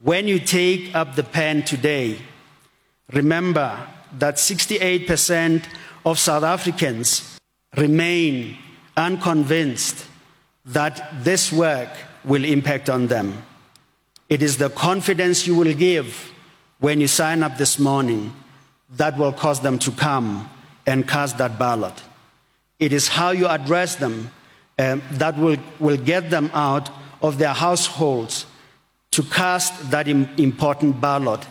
When you take up the pen today, remember that 68% of South Africans remain unconvinced that this work will impact on them. It is the confidence you will give when you sign up this morning that will cause them to come and cast that ballot. It is how you address them that will, will get them out of their households to cast that important ballot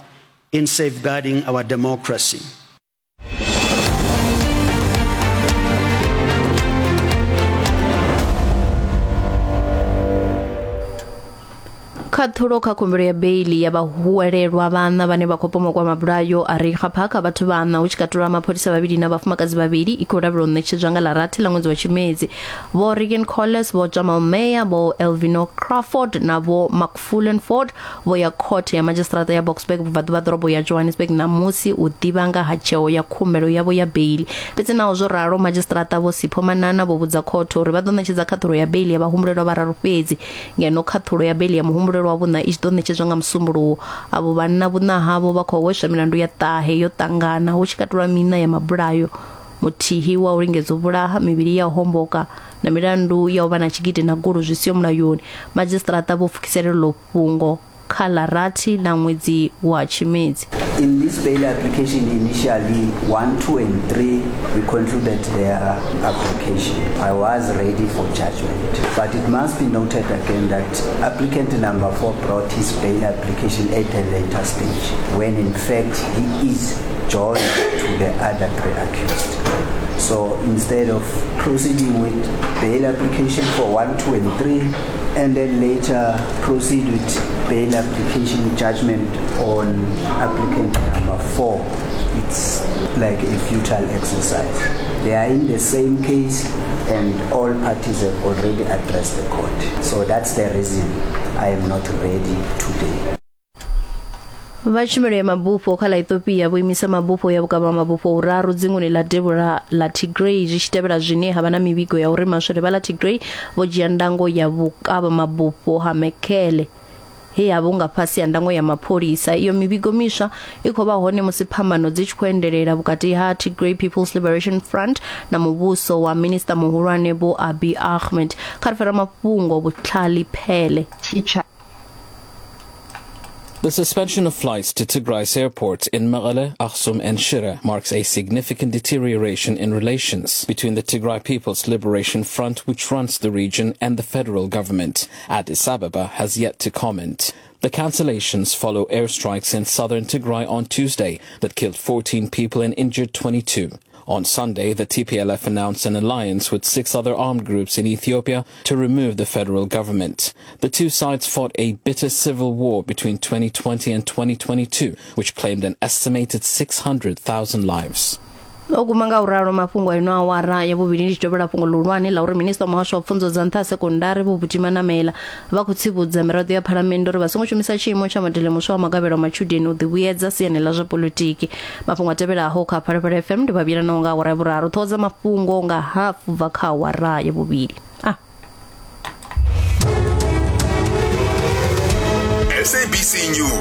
in safeguarding our democracy. Khaṱhulo kha khumbelo ya beili ya vhahuwelelwa vhaṋa vhane vha khou pomokwa mabulayo a Reiger Park a vhathu vhaṋa hu tshi katelwa mapholisa vhavhili na vhafumakadzi vhavhili i khou lavhelwa u ṋetshedzwa nga ḽa rathi ḽa ṅwedzi wa Tshimedzi. Vho Regan Colles, Vho Jamal Meyer, Vho Elvino Crawford na Vho Macfullen Ford vho ya khothe ya madzhisiṱiraṱa ya Boksburg vhubvaḓuvha ḓorobo ya Johannesburg ṋamusi u ḓivha nga ha tsheo ya khumbelo yavho ya beili. Fhedzi naho zwo ralo, madzhisiṱiraṱa Vho Sipho Manana vho vhudza khothe uri vha ḓo ṋetshedza khaṱhulo ya beili ya vhahumbulelwa vhararu fhedzi, ngeno khaṱhulo ya beili ya muhumbulelwa wa vhuṋa i tshi ḓo ṋetshedzwa nga Musumbuluwo. Avho vhanna vhuṋa havho vha khou hweswa milandu ya ṱahe yo ṱangana, hu tshi katelwa miṋa ya mabulayo, muthihi wa u lingedza u vhulaha, mivhili ya u homboka na milandu ya u vha na tshigidi na gulu zwi siho mulayoni. Madzhisiṱiraṱa vho pfukisela iḽo fhungo kha ḽa rathi ḽa ṅwedzi wa Tshimedzi. In this bail application initially 1, 2 and 3 we concluded their application. I was ready for judgment. But it must be noted again that applicant number 4 brought his bail application at a later stage when in fact he is joined to the other three accused. So instead of proceeding with bail application for 1, 2 and 3 and then later proceed with bail application judgment on applicant number 4, it's like a futile exercise. They are in the same case and all parties have already addressed the court. So that's the reason I am not ready today. Vha tshumelo ya mabufho kha ḽa Ethiopia vho imisa mabufho ya vhukavha mabufho uraru dzinguni ḽa devhula ḽa Tigray zwi tshi tevhela zwine ha vha na mivhigo ya uri maswole vha ḽa Tigray vho dzhia ndango ya vhukavha mabufho ha Mekelle he ha vha hu nga fhasi ha ndango ya mapholisa. Iyo mivhigo miswa i khou vha hone musi phambano dzi tshi khou endelela vhukati ha Tigray People's Liberation Front na muvhuso wa minisiṱa muhulwane Vho Abiy Ahmed. Kha ri fara mafhungo Vhutlhali Phele. The suspension of flights to Tigray's airports in Mekelle, Aksum and Shire marks a significant deterioration in relations between the Tigray People's Liberation Front, which runs the region, and the federal government. Addis Ababa has yet to comment. The cancellations follow airstrikes in southern Tigray on Tuesday that killed 14 people and injured 22. On Sunday, the TPLF announced an alliance with six other armed groups in Ethiopia to remove the federal government. The two sides fought a bitter civil war between 2020 and 2022, which claimed an estimated 600,000 lives. O guma nga u ralo mafhungo a ino awara ya vhuvhili ndi tshi tovhela fhungo ḽihulwane ḽa uri minisiṱa wa muhasho wa pfunzo dza nṱha ha sekondari Vho Buti Manamela vha khou tsivhudza miraḓo ya phalamennde uri vha songo shumisa tshiimo tsha modele muswa wa magavhelo a matshudeni u ḓivhuyedza siani ḽa zwa poḽotiki. Mafhungo a tevhelaho kha Phalaphala FM ndi vha vhuyelanaho nga awara ya vhuraru. Ṱhoho dza mafhungo nga hafu bva kha awara ya vhuvhili. Ah. SABC News.